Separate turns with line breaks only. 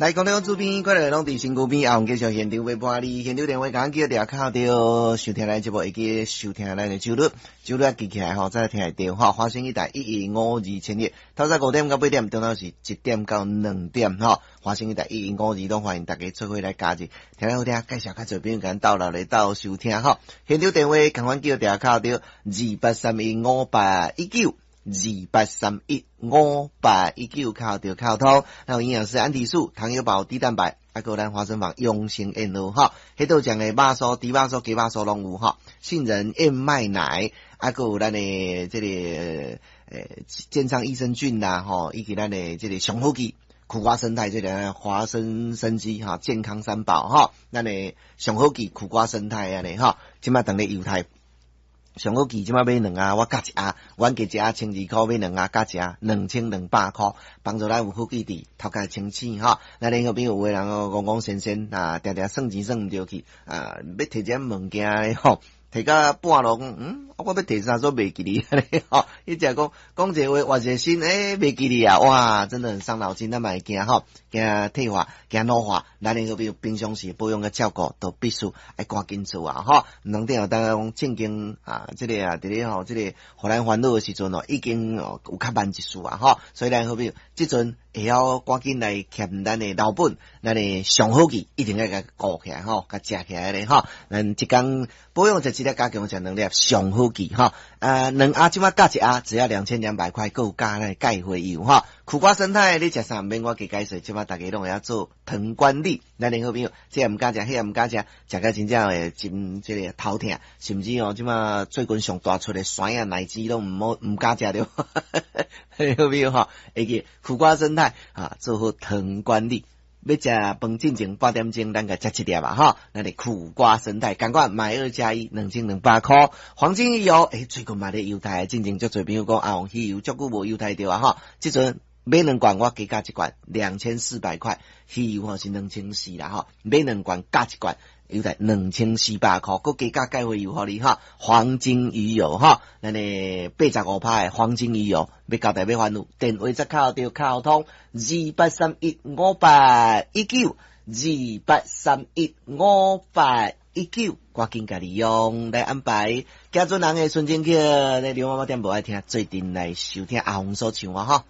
來，講到主編，快樂攏佇身軀邊，阿紅繼續現場陪伴你。現場電話共叫掠敲著收聽咱節目，會記收聽咱的周日，周日記起來吼，才聽會著吼。華聲一台1152千一，透早5點到8點，中晝是1點到2點吼。華聲一台1152，攏歡迎大家做伙來加入，聽好聽，介紹較濟朋友共鬥來鬥收聽吼。現場電話共款叫掠敲著28315819。28315819敲著敲通，還有營養師安迪素、糖友寶、低蛋白，啊，閣有咱花生坊養生燕窩吼，彼度講的肉酥、豬肉酥、雞肉酥攏有吼，杏仁燕麥奶，啊，閣有咱的這個健康益生菌啦吼，以及咱的這個上好記苦瓜勝肽，這個華生生機哈，健康三寶吼，咱的上好記苦瓜勝肽按呢吼，這馬當咧猶太。上好記這馬買兩盒，我加一盒，阮加一盒12箍買兩盒加一盒2200箍，幫助咱有好記佇頭殼清醒吼。咱聯合朋友有的人哦，戇戇神神啊，定定算錢算毋著去啊，欲提這物件吼，提到半路講，我欲提啥煞袂記哩，吼，伊只講講一個話，換一個心，欸，袂記哩啊，哇，真的很傷腦筋，咱嘛會驚吼，驚退化，驚老化，咱聯合朋友平常時保養佮照顧，都必須愛趕緊做啊，吼，毋通等下講正經啊，這個啊，佇咧吼，這個予咱煩惱的時陣哦，已經哦有較慢一絲啊，吼，所以咱好朋友這陣會曉趕緊來欠咱的老本，咱的上好記一定愛共顧起來吼，共食起來咧吼，咱一工保養食一粒，加強食兩粒上好記吼，兩盒這馬加一盒，只要2200塊，閣有加咱鈣花油吼。苦瓜勝肽你食啥毋免我加解說，這馬大家攏會曉做糖管理。咱的好朋友，這個毋敢食，彼個毋敢食，食甲真正會真這個頭痛，甚至哦，這馬最近上大出的酸啊奶雞攏毋好毋敢食著。好朋友吼，會記苦瓜勝肽啊，做好糖管理。欲食飯進前半點鐘，咱共食一粒吧吼。咱的苦瓜勝肽，仝款買二加一，2200箍。黃金魚油，欸，最近嘛咧優待，進前足濟朋友講啊，魚油足久無優待著啊吼。這陣買兩罐，我加價一罐，2400塊。魚油吼是2400啦吼，買兩罐加一罐，優待2400箍，閣加價鈣花油予你哈。黃金魚油哈，咱的85趴的黃金魚油，欲交代欲煩惱，電話則敲著敲通28315819，28315819，趕緊共利用來安排。行船人的純情曲，咧劉媽媽店無愛聽，做陣來收聽阿紅所唱啊吼。